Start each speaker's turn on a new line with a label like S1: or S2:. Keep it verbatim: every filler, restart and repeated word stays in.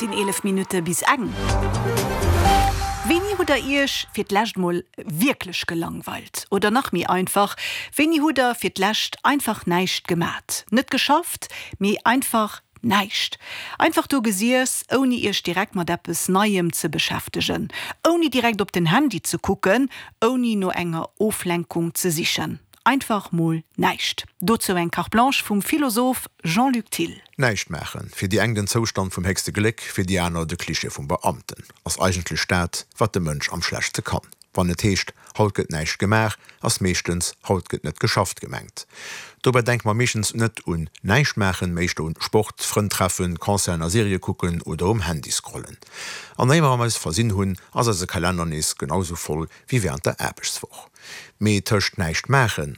S1: sinn eelef Minutte bis eng. Wéini hutt der Iech fir d'lescht mol wierklech gelangweilt? Oder nach méi einfach, Wéini hutt der fir d'lescht einfach näischt gemat? Net geschafft, mee einfach näischt. Einfach do gesiess, ouni Iech direkt mat eppes Neiem ze beschäftegen, ouni direkt op den Handy ze kucken, ouni no enger Oflenkung ze sichen. Einfach mol näischt. Dozou eng Carte Blanche vum Philosoph Jean-Luc Thill.
S2: Näischt maachen, fir déi eng den Zoustand vum héchste Gléck, fir déi aner de Klischee vum Beamten, ass eigentlech dat, wat de Mënsch am schlechtste kann. Wann et heescht, haut gëtt näischt gemaach, ass meeschtens, haut gëtt net geschafft gemengt. Dobäi denke mer meeschtens net un näischt maachen, mee éischter un Sport, Frënn treffen, Concerten a Serië kucken oder um Handy scrollen. An éier mer eis versinn hunn, ass eise Kalenner nees genau sou voll wéi wärend der Aarbechtswoch. Mee tëscht näischt maachen